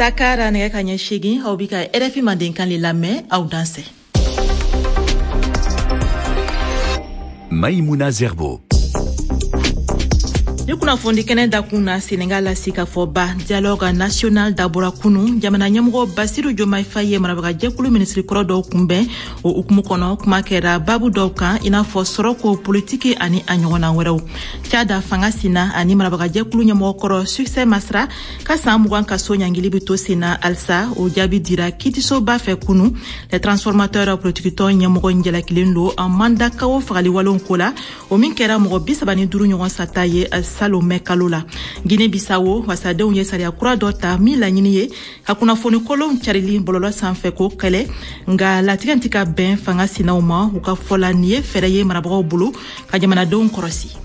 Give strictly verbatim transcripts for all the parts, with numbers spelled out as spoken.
Dakar nɛgɛ ka ɲɛ seegin, aw bi ka R F I Mandenkan le lamɛn. Aw dansɛ. Maïmouna Zerbo. Ni kunnafoni kɛnɛ dakun na, Senegal la, sigikafɔba Dialogue national dabɔra kunu. Jamana ɲɛmɔgɔ Basiru Jomayi Faye ye marabagajɛkulu minisiri kɔrɔ dɔw kunbɛn. O hukumu kɔnɔ, kuma kɛra babu dɔw kan, i n'a fɔ sɔrɔko, politiki ani a ɲɔgɔnna wɛrɛw. Cada fanga sina ani marabagajɛkulu ɲɛmɔgɔ kɔrɔ Succès Masra ka saan mugan kaso ɲangili be to senna halisa. O jaabi dira kiitisoba fɛ kunu. Les Transformateurs politikitɔn ɲɛmɔgɔ jalakilen lo Mandakaw fagaliwalenw ko la, o min kɛra mɔgɔ bi saba ni duru ɲɔgɔn sata ye salon mɛ kalo la. Guinée Bissau, wasadenw ye sariya kura dɔ ta min laɲini ye ka kunnafoni kolonw carili bɔlɔlɔ sanfɛ ko kɛlɛ, nga latigɛ tɛ ka bɛn fanga sinaw ma. U ka fɔ la, nin ye fɛɛrɛ ye marabagaw bolo ka jamanadenw kɔrɔsi.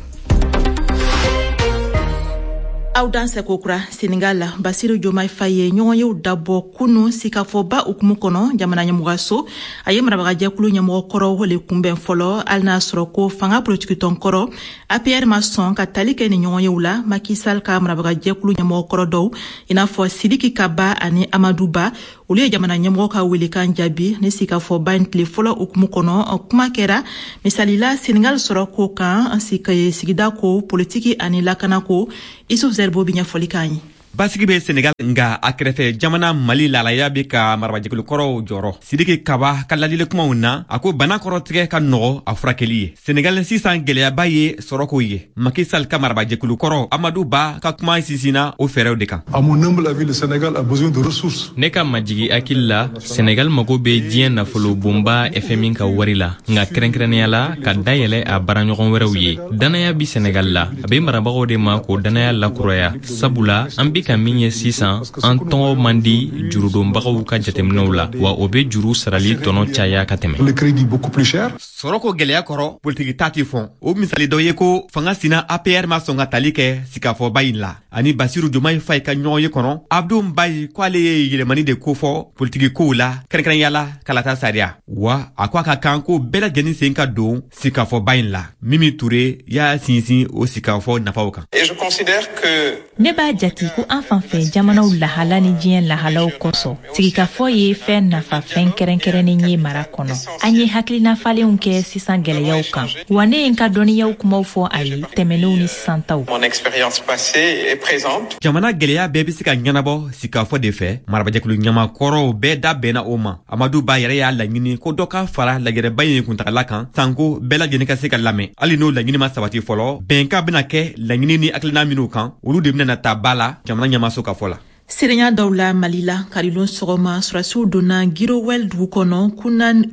Aw dansɛ kokura. Senegal la, Basiru Jomai Faye ye ɲɔgɔnyew dabɔ kunu sikafɔba hukumu kɔnɔ jamana ɲɛmɔgɔso. A ye marabagajɛkulu ɲɛmɔgɔ kɔrɔw le kunbɛn fɔlɔ, hali n'a sɔrɔ ko fanga politikitɔn kɔrɔ A P R ma sɔn ka tali kɛ ni ɲɔgɔnyew la. Macky Sall ka marabagajɛkulu ɲɛmɔgɔ kɔrɔ dɔw, i n'a fɔ Sidiki Kaba ani Amadu Ba, olu ye jamana ɲɛmɔgɔ ka welekan jaabi. Ni sigikafɔba in tile fɔlɔ hukumu kɔnɔ, kuma kɛra misalila Senegal sɔrɔ ko kan, sigida ko, politiki ani lakana ko. Isuf Zerbo bi ɲɛfɔli k'an ye. Basigi bɛ Senegal, nga a kɛrɛfɛ jamana Mali lalaya bɛ ka marabajɛkulu kɔrɔw jɔrɔ. Sidiki Kaba ka ladili kumaw na, a ko bana kɔrɔtigɛ ka nɔgɔ a furakɛli ye. Senegal sisan gwɛlɛyaba ye sɔrɔko ye. Macky Sall ka marabajɛkulu kɔrɔ Amadu Ba ka kuma sinsinna o fɛɛrɛw de kan. À mon humble avis, le Sénégal a besoin de ressources. Ne ka majigi hakili la, Senegal mago bɛ diɲɛ nafolo bonba F M I ka wari la, nka kɛrɛnkɛrɛnnenya la ka dayɛlɛ a baaraɲɔgɔn wɛrɛw ye. Dannaya bi Senegal la, a bɛ marabagaw de ma k'o dannaya lakuraya, sabula an bi ka min ye sisan, an tɔgɔ man di jurudonbagaw ka jateminɛw la, wa o bɛ juru sarali tɔnɔ caya ka tɛmɛ. Le crédit beaucoup plus cher. Sɔrɔko gwɛlɛya kɔrɔ, politiki ta tɛ fɔn. O misali dɔ ye ko fanga sina A P R ma sɔn ka tali kɛ sigikafɔba in la ani Basiru Jomayi Fayi ka ɲɔgɔn ye kɔnɔ. Abdu Mbayi ko ale ye yɛlɛmani de kofɔ politiki kow la, kɛrɛnkɛrɛnya la kalata sariya, wa a ko a ka kan ko bɛɛ lajɛlen sen ka don sigikafɔba in la. Mimi Ture y'a sinsin o sigikafɔ nafaw kan. Et je considère que Ne b'a jati ko an fan fɛ jamanaw lahala ni diɲɛ lahalaw kosɔn, sigikafɔ ye fɛn nafa fɛn kɛrɛnkɛrɛnnen ye mara kɔnɔ. An ye hakilina falenw kɛ sisan gwɛlɛyaw kan, wa ne ye n ka dɔnniyaw kumaw fɔ a ye, tɛmɛnenw ni sisan taw. mon expérience passée et présente. Jamana gwɛlɛya bɛɛ be se ka ɲɛnabɔ sigikafɔ de fɛ. Marabajɛkulu ɲamakɔrɔw bɛɛ da bɛnna o ma. Amadu Ba yɛrɛ y'a laɲini ko dɔ ka fara lajɛrɛba in kuntagala kan, sanko bɛɛ lajɛlen ka se ka lamɛn. Hali n'o laɲini ma sabati fɔlɔ, bɛnkan bena kɛ laɲini ni hakilina minw kan, olu de bena ta ba la jamana ɲɛmaso ka fɔ la. Sirenya dɔw la, Mali la, karilon sɔgɔma, surasiw donna Girowɛl dugu kɔnɔ,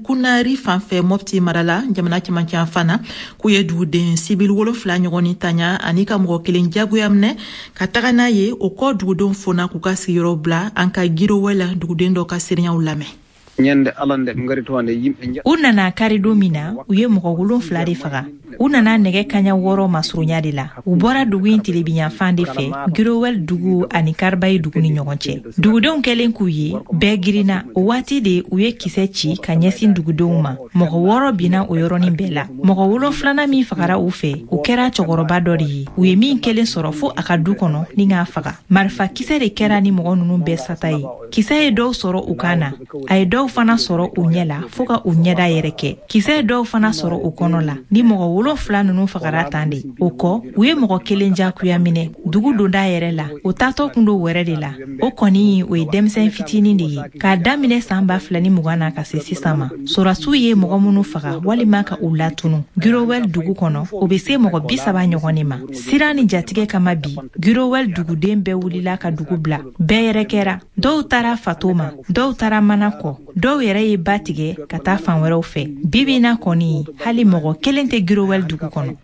Kunari fan fɛ, Mɔpti mara la, jamana cɛmancɛ fan na, k'u ye duguden sibili wolonfila ɲɔgɔn ni taɲa ani ka mɔgɔ kelen jagoya minɛ ka taga n'a ye. O kɔ, dugudenw fona k'u ka sigiyɔrɔ bila. An ka Girowɛl duguden dɔ ka seereyaw lamɛn. Ñande alande ɓe ngari toon nde yimɓe. U nana karidon min na, u ye mɔgɔ wolonfila de faga. U nana nɛgɛ kaɲa wɔɔrɔ masurunya de la. U bɔra dugu in tilebinyanfan de fɛ, Girowɛl dugu ani Karibayi dugu ni ɲɔgɔn cɛ. Dugudenw kɛlen k'u ye, bɛɛ girinna. O waati de u ye kisɛ ci ka ɲɛsin dugudenw ma. Mɔgɔ wɔɔrɔ binna o yɔrɔnin bɛɛ la. Mɔgɔ wolonfilanan min fagara u fɛ, o kɛra cɛkɔrɔba dɔ de ye, u ye min kelen sɔrɔ fo a ka du kɔnɔ ni k'a faga. Marifa kisɛ de kɛra ni mɔgɔ ninnu bɛɛ sata ye. Kisɛ ye dɔw sɔrɔ u kan na, a ye dɔw fana sɔrɔ u ɲɛ la fɔɔ ka u ɲɛda yɛrɛ kɛ. Kisɛ ye dɔw fana sɔrɔ u kɔnɔ la. Ni mɔgɔ wolonfila ninnu fagara tan de. O kɔ, u ye mɔgɔ kelen jagoya minɛ dugu donda yɛrɛ la. O taatɔ kun do wɛrɛ de la. O kɔni, o ye denmisɛn fitinin de ye. K'a daminɛ saan ba fila ni mugan na ka se sisan ma, sɔrɔsiw ye mɔgɔ minnu faga walima ka u latunu Girowɛl dugu kɔnɔ, o be se mɔgɔ bi saba ɲɔgɔn de ma. Siran ni jatigɛ kama bi, Girowɛl duguden bɛɛ wulila ka dugu bila. Bɛɛ yɛrɛ kɛra. Dɔw taara Fato ma, dɔw taara Mana kɔ, dɔw yɛrɛ ye ba tigɛ ka taa fan wɛrɛw fɛ. Bibi na kɔni, hali mɔgɔ kelen tɛ Girowɛl dugu kɔnɔ.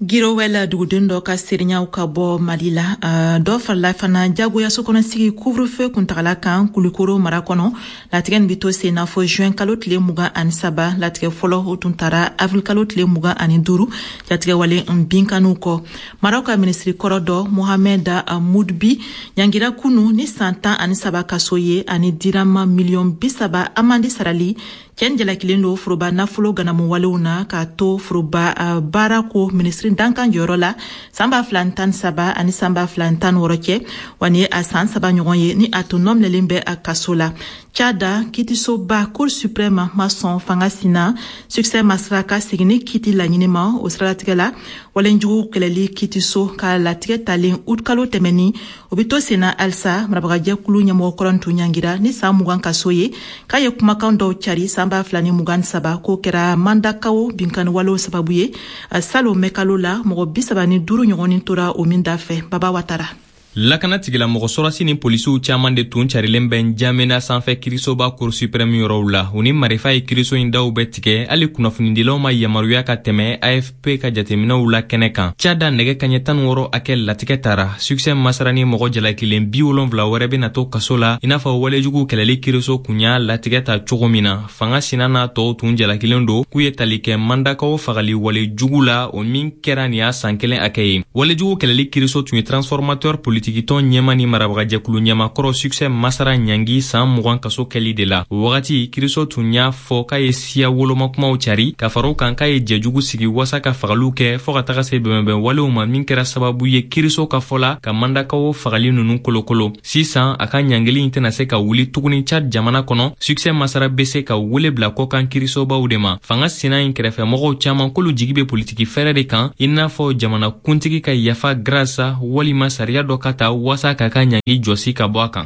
Girowɛl duguden dɔ ka seereyaw. Ka bɔ Mali la, uh, dɔ farala fana jagoya sokɔnɔsigi couvre-feu kuntagala kan Kulikoro mara kɔnɔ. Latigɛ nin be to sen na fɔ juin kalo tile mugan ani saba. Latigɛ fɔlɔ, o tun tara avril kalo tile mugan ani duuru, jatigɛwale n binkaniw kɔ. Maraw ka minisiri kɔrɔ dɔ, Mohamɛd Mudbi, ɲangira kunu ni san tan ani saba kaso ye ani dirama miliyɔn bi saba amandi sarali. Cɛ jalakilen don foroba nafolo ganamuwalew na k'a to foroba baara ko minisiri dankan jɔyɔrɔ la san ba fila tan saba ani san ba fila tan wɔɔrɔ cɛ, wa ni ye a san saba ɲɔgɔn ye ni a tun nɔminɛlen bɛ a kaso la. Tchad, kitisoba Cour suprême ma sɔn fanga sina Succès Masra ka seginni kiti laɲini ma. O siralatigɛ la, walenjugu kɛlɛli kitiso ka latigɛ talen août kalo tɛmɛni, o bɛ to senna halisa. Marabagajɛkulu ɲɛmɔgɔ kɔrɔ tun ɲangira ni san mugan kaso ye k'a ye kumakan dɔw cari san ba fila ni mugan saba, k'o kɛra Mandakaw binkanniwalew sababu ye salon mɛkalo la, mɔgɔ bi saba ni duuru ɲɔgɔnni tora o min da fɛ. Baba Watara. Lakana tigilamɔgɔ sɔrɔsi ni polisiw caaman de tun carilen bɛ Njamena sanfɛ kirisoba Cour suprême yɔrɔw la. U ni marifa ye kiriso in daw bɛɛ tigɛ, hali kunnafonidilaw ma yamaruya ka tɛmɛ A F P ka jateminɛw la kɛnɛ kan. Tchad, nɛgɛ kaɲɛ tan wɔɔrɔ hakɛ latigɛ tara. Succès Masra ni mɔgɔ jalakilen bi wolonfila wɛrɛ bena to kaso la, i n'a fɔ walejugu kɛlɛli kiriso kun y'a latigɛ ta cogo min na. Fanga sina n'a tɔw tun jalakilen don k'u ye tali kɛ Mandakaw fagali wale jugu la, o min kɛra nin y'a san kelen hakɛ ye. Walejugu kɛlɛli kiriso tun ye Transformateur politikitɔn ɲɛma ni marabagajɛkulu ɲɛmakɔrɔ Succès Masra ɲangi saan mugan kaso kɛli de la. O wagati, kiriso tun y'a fɔ k'a ye siya wolomakumaw cari, ka fara o kan k'a ye jɛjugu sigi wasa ka fagaliw kɛ, fɔɔ ka taga se bɛnbɛn walew ma, min kɛra sababu ye kiriso ka fɔ la ka Mandakaw fagali nunu kolokolo. Sisan, a ka ɲangili in tɛna se ka wuli tuguni Tchad jamana kɔnɔ. Succès Masra be se ka wele bila kɔkan kirisobaw de ma. Fanga sina in kɛrɛfɛmɔgɔw caaman k'olu jigi be politiki fɛɛrɛ de kan, i n'a fɔ jamana kuntigi ka yafa grasa walima sariya dɔ ka ta wasa k'a ka ɲangi jɔsi ka bɔ a kan.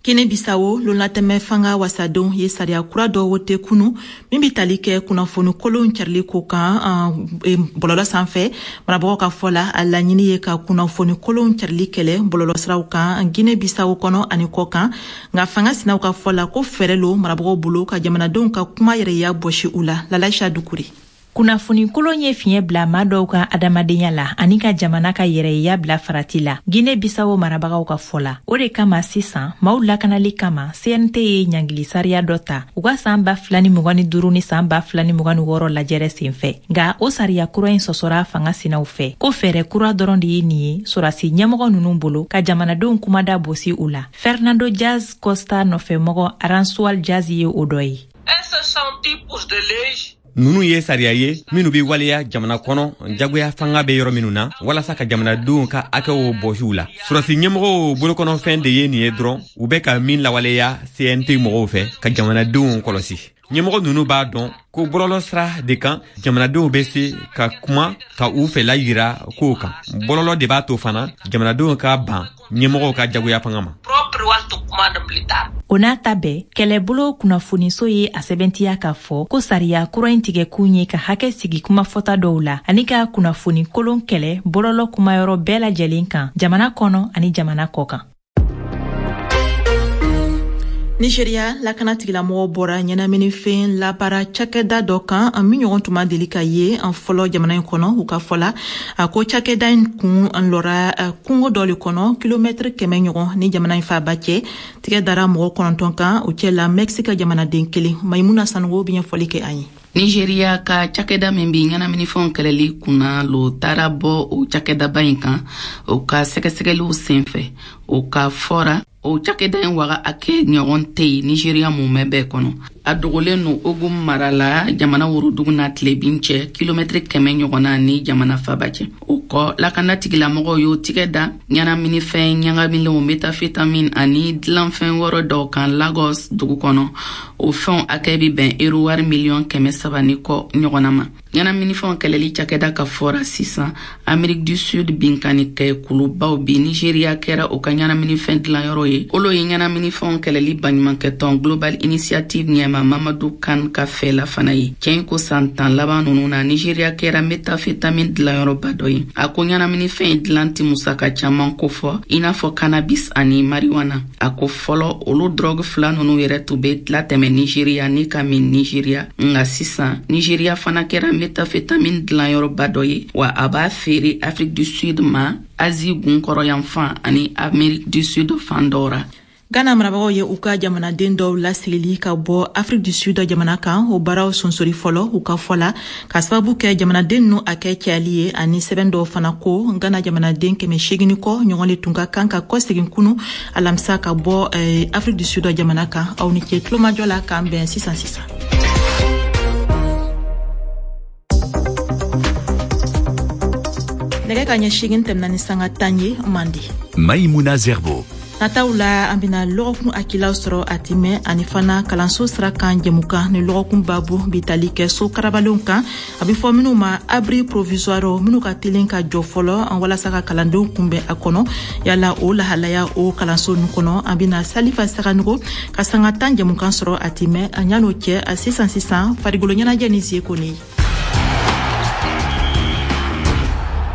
Guinée Bissau, lonlatɛmɛ fanga wasadenw ye sariya kura dɔ wote kunu min bɛ tali kɛ kunnafoni kolon carili ko kan bɔlɔlɔ sanfɛ. Marabagaw ka fɔ la, a laɲini ye ka kunnafoni kolon carili kɛlɛ bɔlɔlɔsiraw kan Guinée Bissau kɔnɔ ani kɔ kan. Nka fanga sinaw ka fɔ la ko fɛɛrɛ lo marabagaw bolo ka jamanadenw ka kuma yɛrɛya bɔsi u la. Lalaisa Dukure. Kunnafoni kolon ye fiɲɛ bila maa dɔw ka adamadenya la ani ka jamana ka yɛrɛya bila farati la, Guinée Bissau marabagaw ka fɔ la. O de kama sisan, maaw lakanali kama, C N T ye ɲangili sariya dɔ ta u ka saan ba fila ni mugan ni duuru ni saan ba fila ni mugan ni wɔɔrɔ lajɛrɛ sen fɛ. Nka o sariya kura in sɔsɔra fanga sinaw fɛ ko fɛɛrɛ kura dɔrɔn de ye nin ye sɔrasi ɲɛmɔgɔ nunu bolo ka jamanadenw kumada bosi u la. Fernando Dias Costa nɔfɛmɔgɔ Aransual Jaz ye o dɔ ye. Nunu ye sariya ye minnu be waleya jamana kɔnɔ, jagoya fanga be yɔrɔ minnu na, walasa ka jamanadenw ka hakɛw bɔsiw la. Sɔrɔsi ɲɛmɔgɔw bolokɔnɔfɛn de ye nin ye dɔrɔn, u bɛ ka min lawaleya C N T mɔgɔw fɛ ka jamanadenw kɔlɔsi. Ɲɛmɔgɔ nunu b'a dɔn ko bɔlɔlɔ sira de kan jamanadenw bɛ se ka kuma ka u fɛla yira kow kan. Bɔlɔlɔ de b'a to fana jamanadenw ka ban ɲɛmɔgɔw ka jagoya fanga ma. O n'a ta bɛɛ, kɛlɛbolo kunnafoniso ye a sɛbɛntiya k'a fɔ ko sariya kura in tigɛkun ye ka hakɛ sigi kumafɔta dɔw la ani ka kunnafoni kolon kɛlɛ bɔlɔlɔ kumayɔrɔ bɛɛ lajɛlen kan, jamana kɔnɔ ani jamana kɔ kan. Nigeria, lakana tigilamɔgɔw bɔra ɲɛnaminifɛn labaara cakɛda dɔ kan min ɲɔgɔn tun ma deli ka ye an fɔlɔ jamana in kɔnɔ. U ka fɔ la, a ko cakɛda in kun lɔra kungo dɔ le kɔnɔ, kilomɛtiri kɛmɛ ɲɔgɔn ni jamana in faaba cɛ. Tigɛ dara mɔgɔ kɔnɔntɔn kan, o cɛ la Mexique jamanaden kelen. Maimuna Sanogo bɛ ɲɛfɔli kɛ an ye. Nigeriya ka cakɛda min bi ɲɛnaminifɛnw kɛlɛli kunna lo taara bɔ o cakɛdaba in kan o ka sɛgɛsɛgɛliw senfɛ. O ka fɔra, o cakɛda in waga a kɛ ɲɔgɔn tɛ yen Nigeriya mumɛ bɛɛ kɔnɔ. A dogolen no Ogun mara la, jamana worodugu n'a tilebin cɛ, kilomɛtiri kɛmɛ ɲɔgɔnna ni jamana faba cɛ. O kɔ, lakana tigilamɔgɔw y'o tigɛ da ɲɛnaminifɛn ɲagamilenw, méthamphétamine, ani dilanfɛn wɛrɛ dɔw kan Lagos dugu kɔnɔ. O fɛnw hakɛ bi bɛn ero wari miliyɔn kɛmɛ saba ni kɔ ɲɔgɔnna ma. Ɲɛnaminifɛnw kɛlɛli cakɛda ka fɔra sisan, Amérique du Sud binkanni kɛ kulubaw bi Nigeriya kɛra o ka ɲɛnaminifɛn dilanyɔrɔ ye. Olo ye ɲɛnaminifɛnw kɛlɛli baɲumankɛtɔn Global Initiative ɲɛma Mamadu Kan ka fɛla fana ye cɛn ko san tan laban nunu na, Nigeriya kɛra méthamphétamine dilanyɔrɔba dɔ ye. A ko ɲɛnaminifɛn dilan tɛ musaka caman kofɔ i n'a fɔ cannabis ani marijuana. A ko fɔlɔ, olu drogue fila nunu yɛrɛ tun be latɛmɛ Nigeriya ni ka min Nigeriya, nka sisan Nigeriya fana kɛra méthamphétamine dilanyɔrɔba dɔ ye, wa a b'a feere Afrique du Sud ma, Asie gunkɔrɔyanfan ani Amérique du Sud fan dɔw ra. Ghana marabagaw ye u ka jamanaden dɔw lasigili ka bɔ Afrique du Sud jamana kan, o baaraw sonsori fɔlɔ. U ka fɔ la, ka sababu kɛ jamanaden ninnu hakɛ cayali ye ani sɛbɛn dɔw fana ko Ghana jamanaden kɛmɛ seegin kɔ ɲɔgɔn le tun ka kan ka kɔsegin kunu alamisa ka bɔ eh, Afrique du Sud jamana kan. Aw ni ce tulomajɔ la, k'an bɛn sisan sisan. Nɛgɛ ka ɲɛ seegin tɛmɛna ni sanga tan ye mandi. Maïmouna Zerbo. Nataw la, an bena lɔgɔkun hakilaw sɔrɔ a timɛ, ani fana kalanso sira kan jɛmukan ni lɔgɔkun babu bi tali kɛ so karabalenw kan, a be fɔ minw ma abri provisoire, minw ka telen ka jɔ fɔlɔ an walasa ka kalandenw kunbɛn a kɔnɔ. Yala o lahalaya o kalanso nu kɔnɔ, an bena Salifa Saganugo ka sanga tan jɛmukan sɔrɔ a timɛ. A ɲan'o cɛ, a sisan sisan farigolo ɲɛnajɛ ni Zie Kone.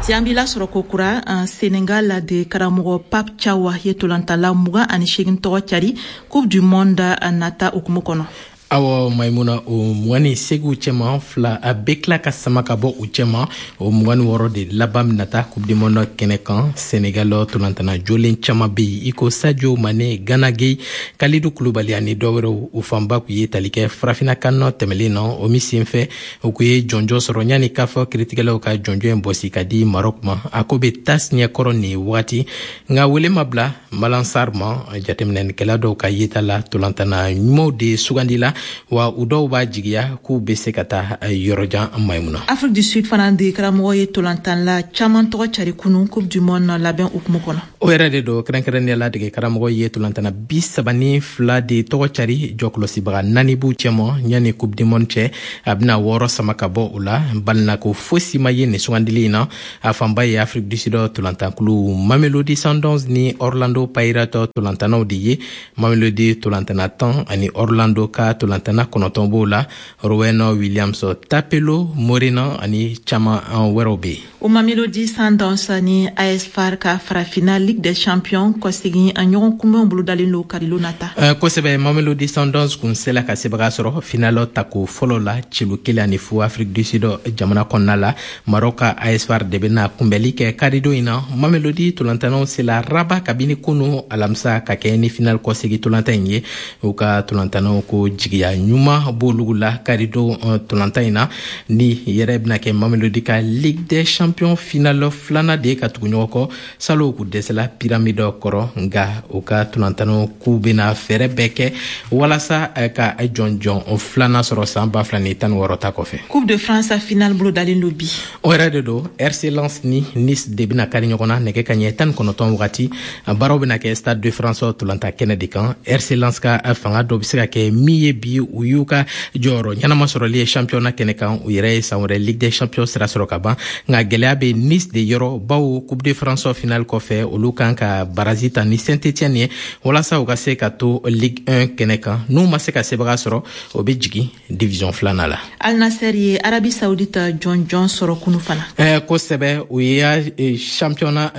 Ti an b'i lasɔrɔ ko kura. Senegal de karamɔgɔ Pape Thiaw ye tolantala mugan ani seegin tɔgɔ cari Coupe du Monde nata hukumu kɔnɔ. Awɔ Maimuna, o mugan ni segiw cɛma, fila a bɛ tila ka sama ka bɔ u cɛma. O mugan ni wɔɔrɔ de laban bɛna taa Coupe du Monde kɛnɛ kan. Senegal tolantana jolen caman bɛ yen, i ko Sadio Mane, Gana Gueye, Kalidou Koulibaly ani dɔ wɛrɛw. U fanba kun ye tali kɛ farafinna kan nɔ tɛmɛlen na. O min senfɛ, o kun ye jɔnjɔn sɔrɔ yanni k'a fɔ kiritigɛlaw ka jɔnjɔn in bɔsi ka di Maroc ma. A ko bɛ tas ɲɛkɔrɔ nin wagati, nka wele ma bila Malang Sarr ma. Jateminɛlikɛla dɔw ka yeta la, tolantana ɲumanw de sugandi la, wa u dɔw b'a jigiya k'u bɛ se ka taa yɔrɔjan, Maimuna. Afrique du Sud fana de karamɔgɔ ye tolantanla caman tɔgɔ cari kunu Coupe du Monde labɛn hukumu kɔnɔ. O yɛrɛ de don. Kɛrɛnkɛrɛnnenya la, dege karamɔgɔ ye tolantana bi saba ni fila de tɔgɔ cari, jɔkɔlɔsibaga naani b'u cɛma. Yanni Coupe du Monde cɛ, a bɛna wɔɔrɔ sama ka bɔ o la. Balinako fosi ma ye nin sugandili in na. A fanba ye Afrique du Sud tolantankulu Mamelodi Sundowns ni Orlando Pirates tolantanaw de ye. Mamelodi tolantana tan ani Orlando ka tolantana kɔnɔntɔn b'o la. Ronwen Williams, Thapelo Morena ani caman wɛrɛw bɛ yen. O Mamelodi Sundowns ni A S FAR ka farafinna Ligue des Champions kɔsegin a ɲɔgɔn kunbɛnw bolodalen don karilo nata. Kosɛbɛ. Mamelodi Sundowns kun sela ka sebaga sɔrɔ final tako fɔlɔ la, celu kelen ani fu, Afrique du Sud jamana kɔnɔna la. Maroc ka A S FAR de bɛna kunbɛli kɛ karidon in na. Mamelodi tolantanaw sela Rabat kabini kunu alamisa ka kɛ ni final kɔsegin tolantan in ye. U ka tolantanaw ko jigiya ɲuman b'olu la karidon tolantan in na. Ni yɛrɛ bɛna kɛ Mamelodi ka Ligue des Champions final filanan de ye ka tugu ɲɔgɔn kɔ. Salon k'u dɛsɛla Pyramide kɔrɔ, nka u ka tolantanaw k'u bɛna fɛɛrɛ bɛɛ kɛ walasa ka jɔnjɔn filanan sɔrɔ san ba fila ni tan ni wɔɔrɔ ta kɔfɛ. Coupe de France final bolodalen don bi. O yɛrɛ de don. R C Lens ni Nice de bɛna kari ɲɔgɔn na nɛgɛ ka ɲɛ tan ni kɔnɔntɔn wagati. Baaraw bɛna kɛ Stade de France tolanta kɛnɛ de kan. R C Lens ka fanga dɔ bɛ se ka kɛ min ye bi, u y'u ka jɔyɔrɔ ɲɛnama sɔrɔli ye championnat kɛnɛ kan. U yɛrɛ ye san wɛrɛ Ligue des Champions sira sɔrɔ ka ban, nka gɛlɛya bɛ Nice de yɔrɔ, bawo Coupe de France final kɔfɛ, olu kan ka baraji ta ni Saint-Étienne ye walasa u ka se ka to Ligue un kɛnɛ kan. N'u ma se ka sebaga sɔrɔ, o bɛ jigin division filanan la. Al Nassr ye Arabie Saoudite jɔnjɔn sɔrɔ kunu fana. eh, kosɛbɛ. U y'a championnat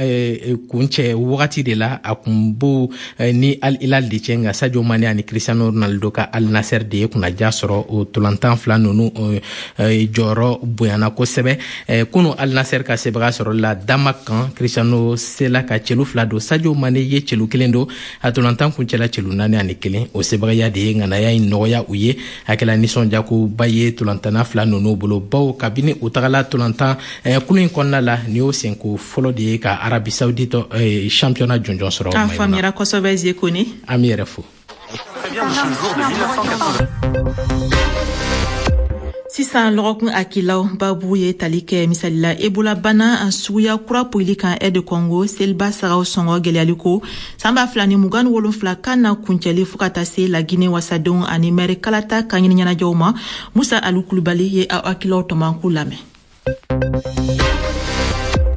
kuncɛ wagati de la, a kun b'o ni Al Hilal de cɛ, nka Sadio Mane ani Cristiano Ronaldo ka Al Nassr de ye kunnaja sɔrɔ. O tolantan fila ninnu jɔyɔrɔ bonyana kosɛbɛ kunu. Al Nassr ka sebaga sɔrɔ la Damac kan, Cristiano sela ka celu fila don, Sadio Mane ye celu kelen don. A tolantan kuncɛla celu naani ani kelen. O sebagaya de ye ŋanaya in nɔgɔya u ye. A kɛla nisɔndiyakoba ye tolantana fila ninnu bolo, bawo kabini u tagala tolantan kulu in kɔnɔna la, nin y'o senko fɔlɔ de ye ka Arabie Saoudite championnat jɔnjɔn sɔrɔ. A faamuyara kosɛbɛ, Zie Kone. An b'i yɛrɛ fo. Sisan, lɔgɔkun hakilaw babu ye tali kɛ misalila Ebola bana suguya kura poyili kan R D Congo, seliba sagaw sɔngɔ gwɛlɛyali ko san ba fila ni mugan ni wolonfila kan na kuncɛli, fɔɔ ka taa se Lagine wasadenw ani mɛri kalata ka ɲini ɲɛnajɛw ma. Musa Alu Kulubali ye aw hakilaw tɔmɔ lamɛn.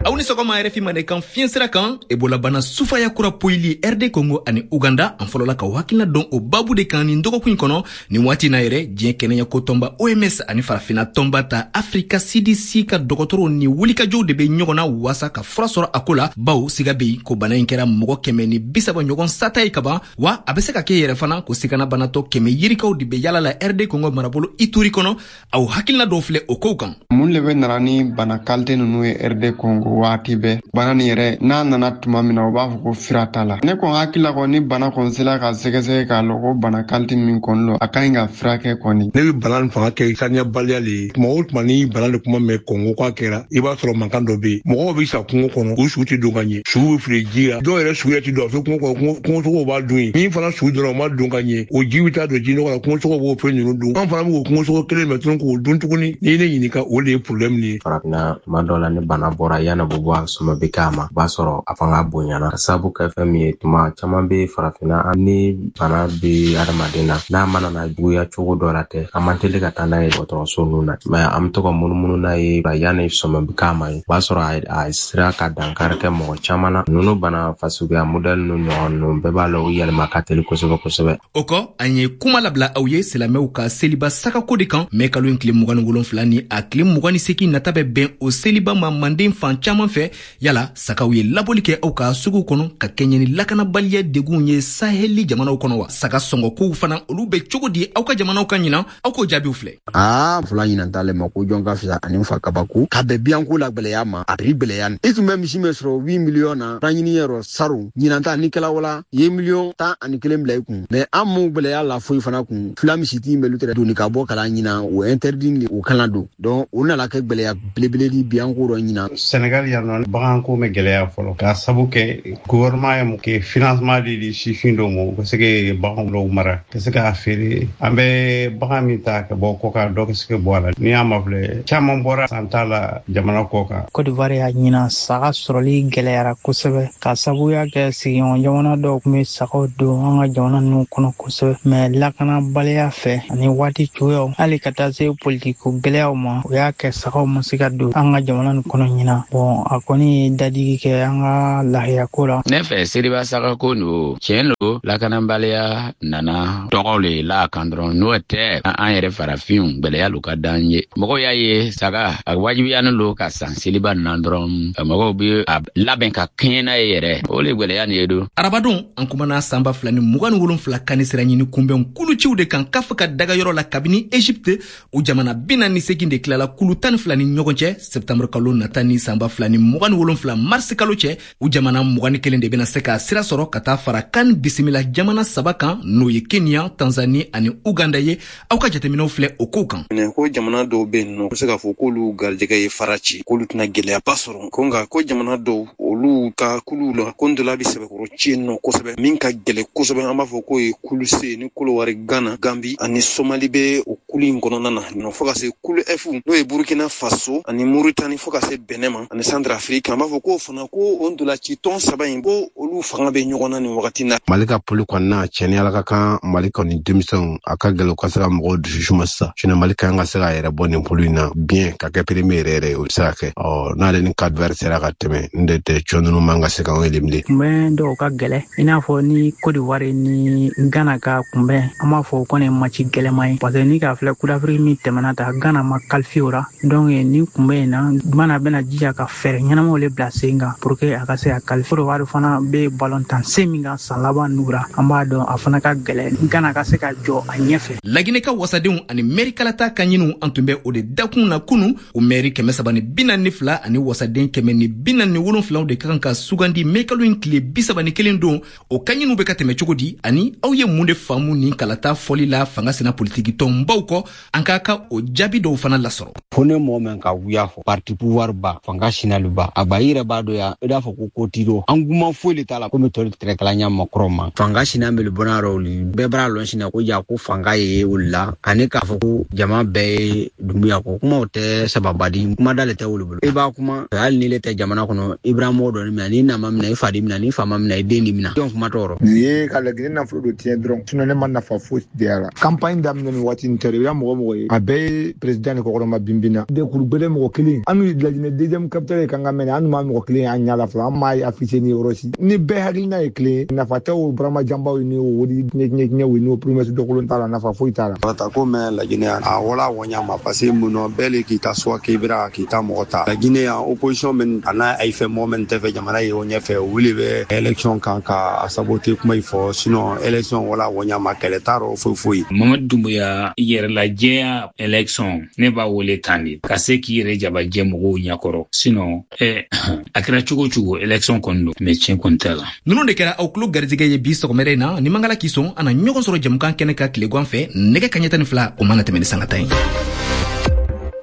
Aw ni sɔgɔma R F I Mandenkan fiɲɛ sira kan. Ebola bana sufaya kura poyili R D Congo ani Uganda, an fɔlɔla ka hakilina dɔn o babu de kan nin dɔgɔkun in kɔnɔ. Nin waati na yɛrɛ, diɲɛ kɛnɛyako tɔnba O M S ani farafina tɔnba ta Afrika C D C ka dɔgɔtɔrɔw ni wulikajɔw de be ɲɔgɔn na waasa ka fura sɔrɔ a ko la, bawo siga be yen ko bana in kɛra mɔgɔ kɛmɛ ni bisaba ɲɔgɔn sata ye kaban, wa a be se ka kɛ yɛrɛ fana ko sigana banatɔ kɛmɛ yirikaw de be yala la R D Congo marabolo Ituri kɔnɔ. Aw hakilina dɔw filɛ o kow kan. Mun le bɛ nana ni bana kalite ninnu ye R D Congo waati bɛɛ? Bana nin yɛrɛ n'a nana tuma min na, u b'a fɔ ko fira t'a la. Ne kɔni hakili la kɔni, ni bana kɔni sera ka sɛgɛsɛgɛ k'a lɔn ko bana kalite min kɔni lo, a ka ɲi ka furakɛ kɔni. Ne bɛ bana nin fanga kɛ saniyabaliya le ye. Tuma o tuma ni bana de kuma mɛn Kɔngo k'a kɛra, i b'a sɔrɔ mankan dɔ bɛ yen, mɔgɔw bɛ sa kungo kɔnɔ, u su tɛ don ka ɲɛ, su bɛ fili ji la, dɔw yɛrɛ su yɛrɛ tɛ don a fɛ kungo kɔnɔ, kungosogow b'a dun yen. Min fana su dɔrɔn u ma don ka ɲɛ, o ji bɛ taa don ji nɔgɔ la, kungosogow b'o fɛn ninnu dun. An fana b'o kungosogo kelen minɛ tuguni k'o dun tuguni. N'i ye ne ɲininka, o de ye problème nin ye. Farafinna, tuma dɔw la, ni bana bɔra, yanni b'o ko bɔ a sɔmɔ bɛ k'a ma, o b'a sɔrɔ a fanga bonyana. Ka sababu kɛ fɛn min ye, tuma caman bɛ farafinna ni bana bɛ hadamaden na, n'a mana na juguya cogo dɔ la tɛ, an man teli ka taa n'a ye dɔgɔtɔrɔso ninnu na. Mɛ an bɛ to ka munumunu n'a ye yanni sɔmɔ bɛ k'a ma ye, o b'a sɔrɔ a sera ka dankari kɛ mɔgɔ caman na. Ninnu bana fasuguya modɛli ninnu ɲɔgɔn ninnu bɛɛ b'a la, u yɛlɛma ka teli kosɛbɛ kosɛbɛ. O kɔ, an ye kuma labila aw ye silamɛw ka seliba sagako de kan. Mɛ kalo in tile mugan ni wolonfila ni a tile mugan ni seegin nata bɛ bɛn o seliba ma manden fan caman fɛ. Yala sagaw ye labɔli kɛ aw ka suguw kɔnɔ ka kɛɲɛ ni lakanabaliya degun ye saheli jamanaw kɔnɔ wa? Saga sɔngɔkow fana, olu bɛ cogo di aw ka jamanaw ka ɲinan? Aw k'o jaabiw filɛ. Aa, fila ɲinan t'ale ma ko jɔn ka fisa ani fa kabako ka bɛn biyanko la gwɛlɛya ma, a bɛ gwɛlɛya. I tun bɛ misi min sɔrɔ huit miliyɔn na ɲini yɔrɔ saro, ɲinan ta ni kɛla wala i ye miliyɔn tan ani kelen bila i kun. Mɛ an m'o gwɛlɛya la foyi fana kun. Fila misitigi bɛ tɛrɛ doni ka bɔ kalan ɲinan, o interdit o kalan don. Donc o nana kɛ gwɛlɛya belebele di biyanko dɔ ɲinan. Senegal yan nɔ, baganko bɛ gɛlɛya fɔlɔ k'a sabu kɛ gouvernement ye mun kɛ financement de di sifin dɔw ma, u ka se ka bagan dɔw mara ka se k'a feere. An bɛ bagan min ta ka bɔ kɔ kan, dɔ ka se ka bɔ a la. N'i y'a mafilɛ, caman bɔra san t'a la jamana kɔ kan. Côte d'Ivoire y'a ɲinan saga sɔrɔli gɛlɛyara kosɛbɛ ka sababuya kɛ sigiɲɔgɔn jamana dɔw tun bɛ sagaw don an ka jamana ninnu kɔnɔ kosɛbɛ, mɛ lakanabaliya fɛ ani waati cogoyaw, hali ka taa se politiko gɛlɛyaw ma, o y'a kɛ sagaw ma se ka don an ka jamana nin kɔnɔ ɲinan. Bɔn, a kɔni ye dadigi kɛ an ka lahiyako la. Ne fɛ seliba sagako no, tiɲɛ lo, lakanabaliya nana tɔgɔ le la kan dɔrɔn. N'o tɛ, an yɛrɛ farafinw gwɛlɛya lo ka d'an ye. Mɔgɔw y'a ye saga a wajibiyanin lo ka san seliba na dɔrɔn, mɔgɔw bɛ a labɛn ka kɛɲɛ n'a ye yɛrɛ. O le gwɛlɛya nin ye don. Arabadon, an kumana san ba fila ni mugan ni wolonfila kani sira ɲini kunbɛn kuluciw de kan kafa ka dagayɔrɔ la kabini Egypte. O jamana bi naani ni seegin de tilala kulu tan ni fila ni ɲɔgɔn cɛ septembre kalo nata ni san ba fila ni mugan ni wolonfila marisi kalo cɛ. O jamana mugan ni kelen de bɛna se ka sira sɔrɔ ka taa fara kan bisimila jamana saba kan, n'o ye Kenya, Tanzanie ani Uganda ye. Aw ka jateminɛw filɛ o kow kan. Ko jamana dɔw bɛ yen nɔ, u bɛ se k'a fɔ k'olu garijɛgɛ ye fara ci, k'olu tɛna gɛlɛyaba sɔrɔ. Ko nka ko jamana dɔw, olu ka kuluw la, ko ntola bɛ sɛbɛkɔrɔ ci yen nɔ kosɛbɛ, min ka gɛlɛn kosɛbɛ, an b'a fɔ k'o ye kulu C ni Kolowari, Gana, Gambi ani Somali bɛ o kulu in kɔnɔna na nɔ, fo ka se kulu F n'o ye Burukina Faso ani Moritani, fo ka se Benin ma ani Centrafrique. An b'a fɔ k'o fana ko o ntolaci tɔn saba in, ko olu fanga bɛ ɲɔgɔn na nin wagati na. Mali ka poli kɔnɔna cɛni ala ka kan Mali kɔni denmisɛnw a ka gɛlɛn u ka se ka mɔgɔw dusu suma sisan. Sinon Mali kan ka se k'a yɛrɛ bɔ nin poli in na bien ka kɛ premier yɛrɛ yɛrɛ, o bɛ se ka kɛ. Ɔ, n'ale ni Cap Vert sera ka tɛmɛ, n de tɛ cɔ ninnu man ka se k'anw éliminer. Kunbɛn dɔw ka gɛlɛn, i n'a fɔ ni Côte d'Ivoire ni Ghana ka kunbɛn, an b'a fɔ o kɔni ye match gɛlɛman ye, parce que ni k'a filɛ Coupe d'Afrique min tɛmɛna ta, Ghana ma qualifié o la. Donc ni kunbɛn in na, Ghana bɛna jija ka fɛɛrɛ ɲɛnamaw le bila sen kan pour que a ka se ka qualifier. Côte d'Ivoire fana bɛ ballon tan sen min kan san laban ninnu la, an b'a dɔn a fana ka gɛlɛn Ghana ka se ka jɔ a ɲɛfɛ. Laginɛ ka wasadenw ani mɛri kalata ka ɲiniw, an tun bɛ o de dakun na kunu. O mɛri kɛmɛ saba ni bi naani ni fila ani wasaden kɛmɛ ni bi naani ni wolonfilaw de ka kan ka sugandi mɛ kalo in tile bi saba ni kelen don. O ka ɲiniw bɛ ka tɛmɛ cogo di, ani aw ye mun de faamu nin kalata fɔli la fanga sina politiki tɔnbaw kɔ? An k'a ka o jaabi dɔw fana lasɔrɔ. Fo ne mɔgɔ min ka wuya fɔ parti pouvoir ba fanga sinali ba a ba i yɛrɛ b'a dɔn yan, i b'a fɔ ko ko t'i dɔn an kuma foyi le t'a la komi tɔli tɛrɛkala ɲa makɔrɔ ma. Fanga sina bɛle bɔnna yɔrɔ olu bɛɛ b'a lɔn sina ko ja ko fanga ye olu la, ani k'a fɔ ko jama bɛɛ ye Dumbuya ko kumaw tɛ sababadi, kuma da le tɛ olu bolo. I b'a kuma hali ni le tɛ jamana kɔnɔ, i b'a mɔgɔ dɔ minɛ, n'i nama minɛ i fa di minɛ, n'i fa ma minɛ i den di minɛ, jɔn kuma t'o rɔ. Nin ye ka Laginɛ nafolo don tiɲɛ dɔrɔn, sinon ne ma nafa foyi de y'a la. Campagne daminɛ ni waati nin tɛ, i b'a mɔgɔ mɔgɔ ye a bɛɛ ye président de kɔkɔrɔma binbin na. Dekuru gbɛlɛ mɔgɔ kelen, an n'u Laginɛ deuxième capitale ye kan ka mɛnɛ, an n'u ma mɔgɔ kelen an ɲɛ la fɔlɔ, an m'a affiché ni yɔrɔ si. Ni bɛɛ hakilina ye kelen ye, nafa tɛ o burama janbaw ni o wodi ɲɛɲɛ ni o promesse dɔkolon t'a la, nafa foyi t'a la. Kalata ko mɛn Laginɛ a wala wɔnya ma, parce que mun nɔ bɛɛ le k'i ta soit k'i bira k'i ta mɔgɔ ta. Laginɛ yan opposition min a n'a ayi fɛ mɔgɔ min tɛ fɛ jamana ye o ɲɛfɛ, o le bɛ élection kan ka a saboter kuma in fɔ, sinon élection wala wɔnya ma, kɛlɛ t'a rɔ foyi foyi. Mamadu Dumbuya yɛrɛlajɛya élection ne b'a wele tan de ka se k'i yɛrɛ jabajɛ mɔgɔw ɲɛkɔrɔ, sinon eh, a kɛra cogo cogo élection kɔni don, mais tiɲɛ kɔni t'a la. Ninnu de kɛra aw tulo garijɛgɛ ye bi sɔgɔmada in na. Ni mangala k'i sɔn, an na ɲɔgɔn sɔrɔ jamukan kɛnɛ ka tilegan fɛ nɛgɛ kaɲɛ tan ni fila, o mana tɛmɛ ni sanga tan ye.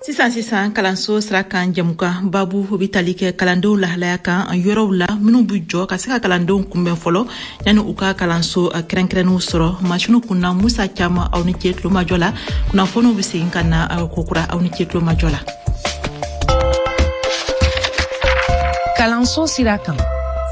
Sisan sisan kalanso sira kan jamukan babu bɛ tali kɛ kalandenw lahalaya kan yɔrɔw la minnu bɛ jɔ ka se ka kalandenw kunbɛn fɔlɔ yanni u ka kalanso kɛrɛnkɛrɛnnenw sɔrɔ. Masiniw kunna Musa Caman, aw ni ce tulomajɔ la. Kunnafoniw bɛ segin ka na kokura, aw ni ce tulomajɔ la. Kalanso sira kan.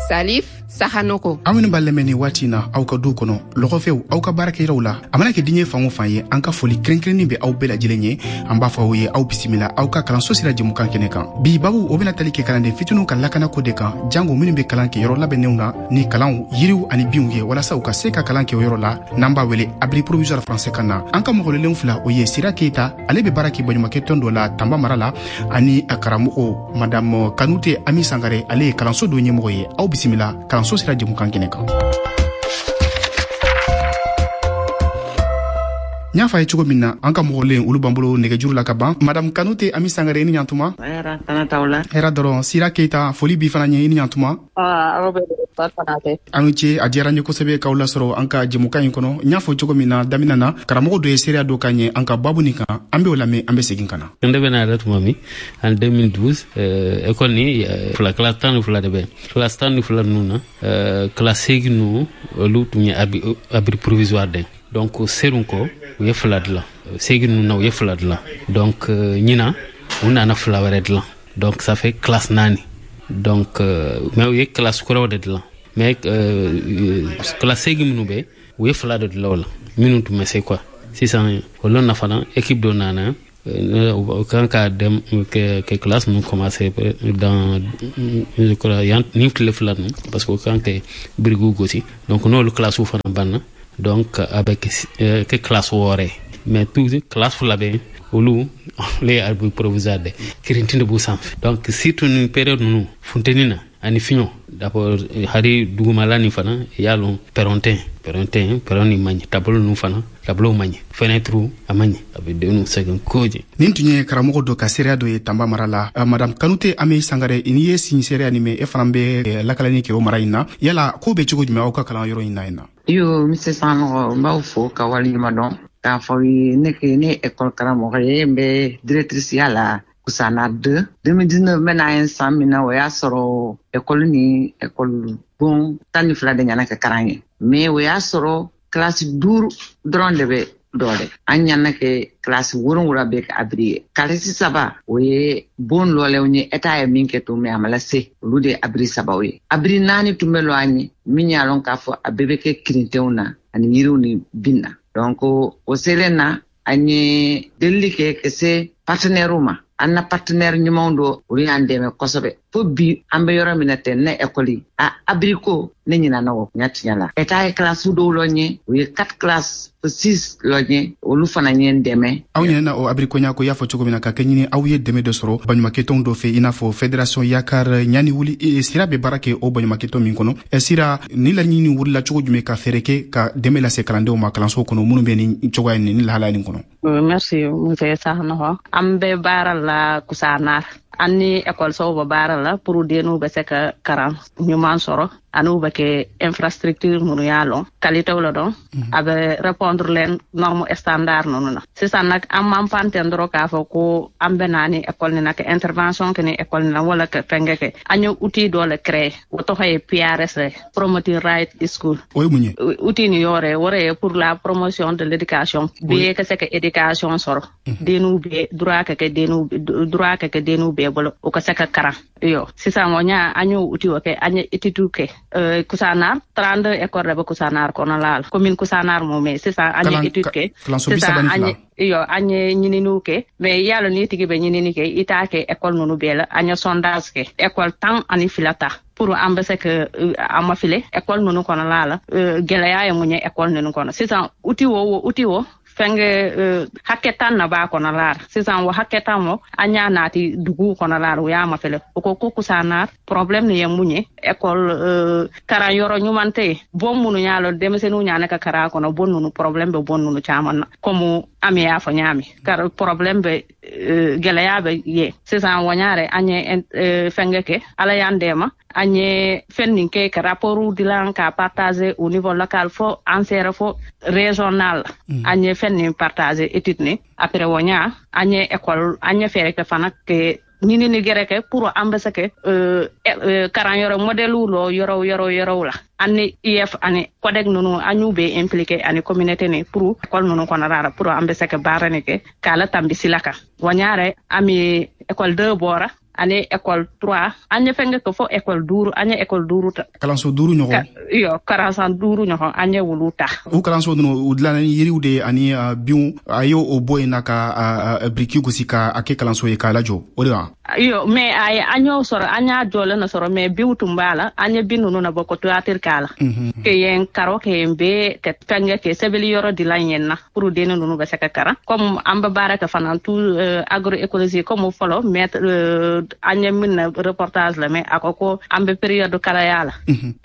Salif Sahanoko. Aw minnu b'a lamɛn nin waati in na aw ka du kɔnɔ, lɔgɔfɛw, aw ka baarakɛyɔrɔw la, a mana kɛ diɲɛ fan o fan ye, an ka foli kɛrɛnkɛrɛnnen bɛ aw bɛɛ lajɛlen ye. An b'a fɔ aw ye aw bisimila aw ka kalanso sira jɛmukan kɛnɛ kan. Bi babu o bɛna tali kɛ kalanden fitininw ka lakanako de kan, jango minnu bɛ kalan kɛ yɔrɔ labɛnnenw na ni kalanw, yiriw ani binw ye, walasa u ka se ka kalan kɛ o yɔrɔ la, n'an b'a wele abri provisoire français kan na. An ka mɔgɔlelenw fila, o ye Sira Keyita, ale bɛ baara kɛ baɲumankɛ tɔn dɔ la Tanba mara la, ani a karamɔgɔ Madame Kanute Ami Sangare, ale ye kalanso dɔ ɲɛmɔgɔ ye. Aw bisimila kalanso sira jɛmukan kɛnɛ kan. N y'a fɔ a ye cogo min na, an ka mɔgɔlen olu b'an bolo nɛgɛjuru la ka ban. Madame Kanute Ami Sangare, i ni ɲantuma. Hɛrɛ dɔrɔn. Sira Keyita, foli b'i fana ɲɛ, i ni ɲantuma. Aw ni ce, a diyara n ye kosɛbɛ k'aw lasɔrɔ an ka jɛmukan in kɔnɔ. N y'a fɔ cogo min na daminɛ na, karamɔgɔ dɔ ye seereya dɔ k'an ye an ka babu nin kan, an b'o lamɛn, an bɛ segin ka na. Ne bɛna yɛrɛ tuma min en deux mille douze, euh, école ni euh, fila classe tan ni fila de bɛ, classe tan ni fila ninnu na, euh, classe seegin ninnu olu tun ye abri, abri provisoire de. Donc serun kɔ u ye fila dilan, seegin ninnu na u ye fila dilan. Donc ɲinan u nana fila wɛrɛ dilan, donc ça fait classe naani. Donc euh, mais u ye classe kuraw de dilan, mais euh, classe seegin minnu bɛ, u ye fila de dilan o la minnu tun bɛ se quoi. Sisan olu na fana équipe dɔ nana, u kan ka dem kɛ kɛ classe ninnu commencer dans, je crois, yan ni tile fila ninnu, parce que u kan kɛ birikiw gosi. Donc n'olu classe fana banna, donc avec euh, que classe wɔɔrɔ ye, mais tout classe fila bɛ olu le ye abri provisoire de kirintin de b'u sanfɛ. Donc surtout ni période ninnu funteni na ani fiɲɛ, d'abord hari dugumala nin fana i y'a lɔn pɛrɔn tɛ pɛrɔn tɛ pɛrɔn nin man ɲi, tableau ninnu fana tableau man ɲi, fenêtre a man ɲi, a bɛ denw sɛgɛn kojugu. Nin tun ye karamɔgɔ dɔ ka seereya dɔ ye Tanba mara la. Uh, Madame Kanute Ami Sangare, n'i ye sin seereya nin mɛn, e fana bɛ lakalani kɛ o mara in na, yala ko bɛ cogo jumɛn aw ka kalan yɔrɔ in na yen na? Iyo, Monsieur Sanogo, n b'aw fo ka waleɲuman dɔn k'a fɔ aw ye. Ne ke ne ye école karamɔgɔ ye, n bɛ directrice ya la Kusana deux. deux mille dix-neuf n bɛna ye san min na, o y'a sɔrɔ école ni école bon tan ni fila de ɲana kɛ karan ye, mais o y'a sɔrɔ classe duuru dɔrɔn de bɛ dɔ dɛ. An ɲana kɛ classe wolonwula bɛ kɛ abri ye. Kalisi saba o ye bon lɔlɛw ye, État ye min kɛ to, mais a ma lase, olu de ye abri sabaw ye. Abri naani tun bɛ lɔ an ye min y'a lɔn k'a fɔ a bɛɛ bɛ kɛ kirintenw na ani yiriw ni bin na. Donc o selen na, an ye delili kɛ ka se partenaires ma. An na partenaire ɲumanw do, olu y'an dɛmɛ kosɛbɛ. Fo bi an bɛ yɔrɔ min na tɛ, ne école a abri ko ne ɲinana o ɲa tiɲɛ la. État ye classe dɔw lɔ ɲɛ, u ye quatre classes fo six lɔ ɲɛ, olu fana ye n dɛmɛ. Aw ɲinɛna o abri ko ɲa ko i y'a fɔ cogo min na, ka kɛ ɲini aw ye dɛmɛ dɔ sɔrɔ baɲumankɛtɔnw dɔ fɛ, i n'a fɔ fédération Yakar ɲani wuli. Sira bɛ baara kɛ o baɲumankɛtɔn min kɔnɔ. Sira, ni laɲini wulila cogo jumɛn ka fɛɛrɛ kɛ ka dɛmɛ lase kalandenw ma kalanso kɔnɔ minnu bɛ nin cogoya nin ni lahalaya nin kɔnɔ? Merci Monsieur Sanogo. An bɛ baara la Kusanar, an ni ekɔlisow bɛ baara la pour denw bɛ se ka karan ɲuman sɔrɔ, ani u bɛ kɛ infrastructure minnu y'a lɔn qualité la dɔn, a bɛ répondre les normes standard ninnu na. Sisan nag an m'an pan ten dɔrɔn k'a fɔ ko an bɛ na ni école nin na ka intervention kɛ ni école nin na wala ka fɛnkɛ kɛ. An ye outil dɔ le créer, o tɔgɔ ye P R S, Promoting Right School. O ye mun ye? Outil nin yɔrɔ ye o ye pour la promotion de l'éducation, bɛɛ ka se ka éducation sɔrɔ, denw bɛɛ droit ka kɛ denw droit ka kɛ denw bɛɛ bolo, o ka se ka karan. Iyo sisan o ɲa an y'o outil o kɛ, an ye étude kɛ. Euh, Kusanar trente-deux écoles de bɛ Kusanar kɔnɔla la, commune Kusanar mɔ, mais sisan an ye étude kɛ, sisan an ye iyo an ye ɲininiw kɛ, mais yalo n'i tigi bɛ ɲinini kɛ, i t'a kɛ école ninnu bɛɛ la. An ye sondage kɛ, école tan ani fila ta pour an bɛ se ka a mafilɛ école ninnu kɔnɔla la, gɛlɛya ye mun ye école ninnu kɔnɔ. Sisan outil o o outil o fɛnkɛ hakɛ tan na b'a kɔnɔla la. Sisan o hakɛ tan o an y'a naati dugu kɔnɔla la, o y'a mafɛlɛ, o ko ko Kusanar problème nin ye mun ye, école karan yɔrɔ ɲuman tɛ yen, bon minnu y'a lɔn denmisɛnninw ɲana ka karan kɔnɔ, bon ninnu problème bɛ bon ninnu caman na, komi an y'a fɔ ɲaami kar problème bɛ gɛlɛya bɛ ye. Sisan o ɲa yɛrɛ an ye fɛnkɛ kɛ, Ala y'an dɛmɛ, an ye fɛn nin kɛ ka rapport dilan ka partager au niveau local fo an sera fo régional. An ye fɛn nin partager étude ni après o ɲa an ye école an ye fɛɛrɛ kɛ fana ke ɲinini gɛrɛ kɛ pour an bɛ se kɛ karan yɔrɔ modèle lɔ yɔrɔ yɔrɔ yɔrɔw la, an ni I F ani CODEC ninnu an y'u bɛɛ impliqué ani communauté ni pour école ninnu kɔnɔna la pour an bɛ se ka baara nin kɛ k'a latanbi sila kan. Wa ɲa yɛrɛ an bɛ école deux bɔra Ani école trois an ye fɛnkɛ kɛ fo école duuru, an ye école duuru ta. Kalanso duuru ɲɔgɔn. Iyo, kalanso duuru ɲɔgɔn an ye wolu ta. O kalanso ninnu u dilanna ni yiriw de ye ani binw, a ye o bɔ yen na ka biriki gosi ka a kɛ kalanso ye k'a lajɔ, o de wa? Iyo, mais a ye an y'o sɔrɔ, an y'a jɔlen na sɔrɔ, mais binw tun b'a la, an ye bin ninnu na bɔ ko toiture k'a la. Ke yen karo ke yen bɛɛ ka fɛnkɛ kɛ sɛbɛnni yɔrɔ dilan yen na pour den ninnu bɛ se ka karan. Comme an bɛ baara kɛ fana tout agroécologie comme fɔlɔ maître an ye min na reportage la, mais a ko ko an bɛ période kalaya la.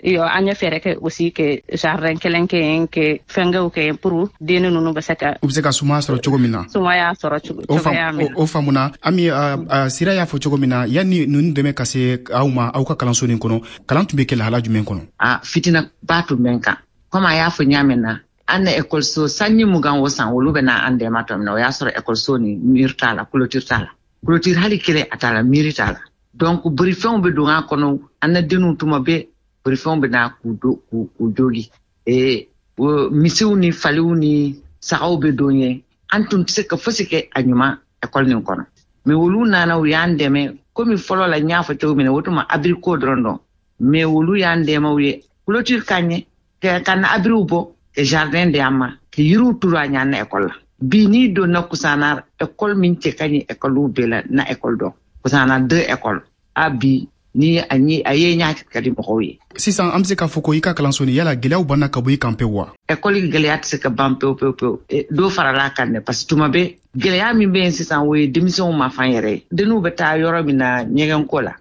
Iyo, an ye fɛɛrɛ kɛ aussi ke jardin kelen kɛ yen, ke fɛnkɛw kɛ yen pour den ninnu bɛ se ka u bɛ se ka sumaya sɔrɔ cogo min na. Sumaya sɔrɔ cogo cogoya min na. O faamuna. Ami, Sira y'a fɔ cogo min na, yanni ninnu dɛmɛ ka se aw ma aw ka kalanso nin kɔnɔ, kalan tun bɛ kɛ lahala jumɛn kɔnɔ? A fitina ba tun bɛ n kan. Komi a y'a fɔ ɲa min na, an na ekɔliso sanji mugan o san olu bɛ na an dɛmɛ tɔ min na, o y'a sɔrɔ ekɔliso ni mur t'a la, clôture t'a la. Clôture hali kelen a t'a la, miiri t'a la. Donc bolifɛnw bɛ don a kɔnɔ, an na denw tuma bɛɛ bolifɛnw bɛ na k'u do k'u jogi. Ee misiw ni faliw ni sagaw bɛ don yen, an tun tɛ se ka fosi kɛ a ɲuman ekɔli nin kɔnɔ. Mais olu nana u y'an dɛmɛ, komi fɔlɔ la n y'a fɔ cogo min na, o tun ma abri ko dɔrɔn dɔn. Mais olu y'an dɛmɛ, u ye clôture k'an ɲɛ, ka na abriw bɔ, ka jardin di an ma, ka yiriw turu an ɲɛ an na ekɔli la. Bi n'i donna Kusana école min cɛ ka ɲi école bɛɛ la na école dɔn, Kusana deux école a bi ni a ye a ye ɲa ka di mɔgɔw ye. Sisan an bɛ se k'a fɔ ko i ka kalanso nin, yala gɛlɛyaw banna ka bɔ i kan pewu wa? École gɛlɛya tɛ se ka ban pewu pewu pewu, dɔ farala a kan dɛ, parce que tuma bɛɛ gɛlɛya min bɛ yen sisan, o ye denmisɛnw ma fan yɛrɛ ye. Denw bɛ taa yɔrɔ min na ɲɛgɛnko la,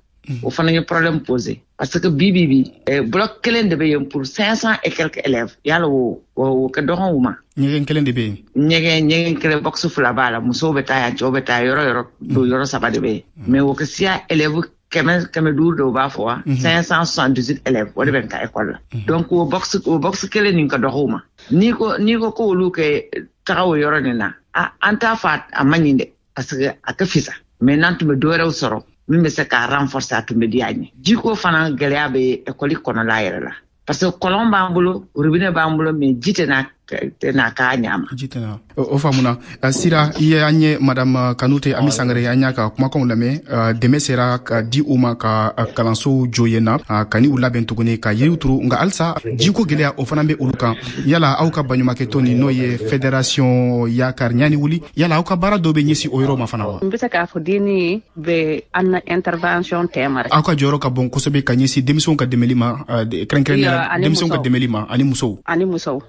o fana ye problème posé. Parce que bi bi bi bloc kelen de bɛ yen pour cinq cents et quelques élèves, yala o o ka dɔgɔn u ma. Ɲɛgɛn kelen de bɛ yen. Ɲɛgɛn ɲɛgɛn kelen box fila b'a la, musow bɛ taa yan, cɛw bɛ taa yɔrɔ yɔrɔ, don yɔrɔ saba de bɛ yen. Mais o ka siya élèves kɛmɛ kɛmɛ duuru dɔw b'a fɔ wa cinq cent soixante-dix-huit élèves o de bɛ n ka école la. Donc o box o box kelen nin ka dɔgɔ u ma. N'i ko n'i ko k'olu kɛ taga o yɔrɔ nin na, an t'a fɔ a man ɲi dɛ, parce que a ka fisa. Mais n'an tun bɛ dɔ wɛrɛw sɔrɔ min bɛ se k'a renforcer, a tun bɛ di an ye. Jiko fana gɛlɛya bɛ école kɔnɔla yɛrɛ la, parce que kɔlɔn b'an bolo, robinet b'an bolo, mais ji tɛ na tɛ na k'a ɲa ma. Ji tɛ na. O faamuna. Sira, i ye an ye madame Kanute Ami Sangare, an y'a ka kumakanw lamɛn. Dɛmɛ sera ka di u ma ka kalansow jɔ yen na, ka ni u labɛn tuguni ka yiriw turu, nka halisa jiko gɛlɛya o fana bɛ olu kan. Yala aw ka baɲumankɛtɔn nin, n'o ye fédération Yakar Ɲani Wuli, yala aw ka baara dɔ bɛ ɲɛsin o yɔrɔ ma fana wa? N bɛ se k'a fɔ denni bɛ an na intervention tɛma. Aw ka jɔyɔrɔ ka bon kosɛbɛ ka ɲɛsin denmisɛnw ka dɛmɛli ma, kɛrɛnkɛrɛnnenya la denmisɛnw ka dɛmɛli ma ani musow. Ani musow.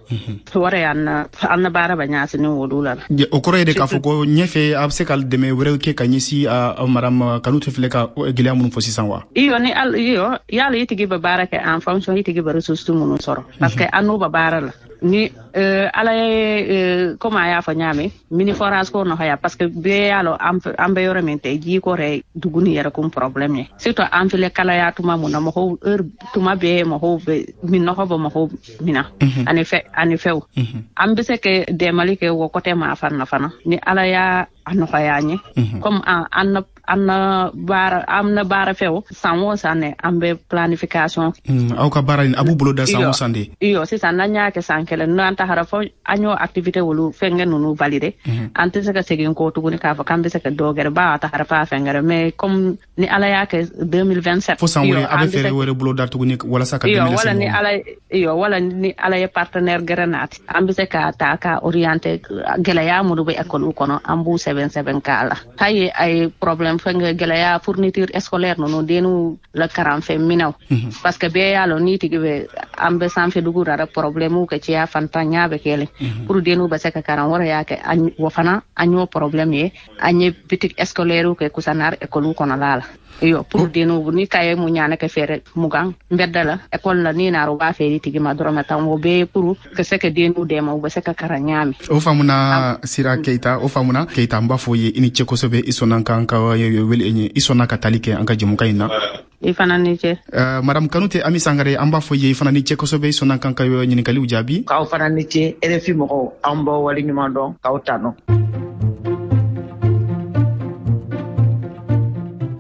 Wara y'an na an na baara bɛ ɲɛsin olu la. O kɔrɔ ye de k'a fɔ ko ɲɛfɛ a bɛ se ka dɛmɛ wɛrɛw kɛ ka ɲɛsin a madame Kanute filɛ ka gɛlɛya minnu fɔ sisan wa? Iyo, ni iyo yala i tigi bɛ baara kɛ en fonction i tigi bɛ ressources minnu sɔrɔ, parce que an n'o bɛ baara la. Ni ala ye comme a y'a fɔ ɲaami mini forage ko nɔgɔya, parce que bɛɛ y'a lɔn an bɛ yɔrɔ min tɛ ji ko yɛrɛ dugu ni yɛrɛ kun problème ye. Surtout an filɛ kalaya tuma mun na, mɔgɔw heure tuma bɛɛ mɔgɔw bɛ minɔgɔ bɛ mɔgɔw mina ani fɛ ani fɛw. An bɛ se ka dɛmɛli kɛ o côté ma fana fana ni ala y'a nɔgɔya an ye. Comme an an an na baara an na baara fɛw san o san ne an bɛ planification. Aw ka baara in a b'u bolo da san o san de? Iyo, sisan n'an y'a kɛ san kelen, n'an tagara fɔ an y'o activité olu fɛnkɛ ninnu valider, an tɛ se ka segin kɔ tuguni k'a fɔ k'an bɛ se ka dɔ gɛrɛ ba a tagara f'a fɛn gɛrɛ. Mais comme ni ala y'a kɛ deux mille vingt-sept, fo san wɛrɛ a bɛ fɛɛrɛ wɛrɛ bolo da tuguni walasa ka dɛmɛ lase mɔgɔw ma. Wala ni ala iyo wala ni ala ye partenaire gɛrɛ naati, an bɛ se ka ta ka orienter gɛlɛya minnu bɛ école kɔnɔ, an b'u sɛbɛn sɛbɛn k'a la. Hali a ye problème fɛnkɛ gɛlɛya fourniture scolaire ninnu, denw la karanfɛn minɛnw, parce que bɛɛ y'a lɔn n'i tigi bɛ an bɛ sanfɛ dugu la problème kɛ cɛya fantanya bɛ kɛlɛ pour denw bɛ se ka karan. Wɛrɛ y'a kɛ o fana an y'o problème ye, an ye boutique scolaire kɛ Kusanar école kɔnɔla la. Iyo, pour denw ni kaye mu ɲana kɛ fɛɛrɛ mugan nbɛda la école la, ni naara u b'a feere tigi ma dɔrɔmɛ tan, o bɛɛ pour ka se ka denw dɛmɛ u bɛ se ka karan ɲaami. O faamuna Sira Keyita, o faamuna Keyita, n b'a fɔ ye i ni ce kosɛbɛ, i sɔnna k'an ka wele, i sɔnna ka tali kɛ an ka jɛmukan in na. I fana ni ce. Uh, madame Kanute Ami Sangare, an b'a fɔ ye i fana ni ce kosɛbɛ, i sɔnna k'an ka ɲininkaliw jaabi. K'aw fana ni ce, R F I mɔgɔw, an b'aw waleɲuman dɔn k'aw tanu.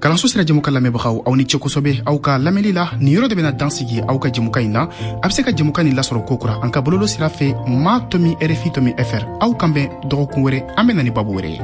Kalanso sira jɛmukan lamɛnbagaw, aw ni ce kosɛbɛ aw ka lamɛnli la. Nin yɔrɔ de bɛna dan sigi aw ka jɛmukan in na. A bɛ se ka jɛmukan nin lasɔrɔ kokura an ka bololo sira fɛ ma tomi R F I tomi F R. Aw kan bɛn dɔgɔkun wɛrɛ, an bɛ na ni babu wɛrɛ ye.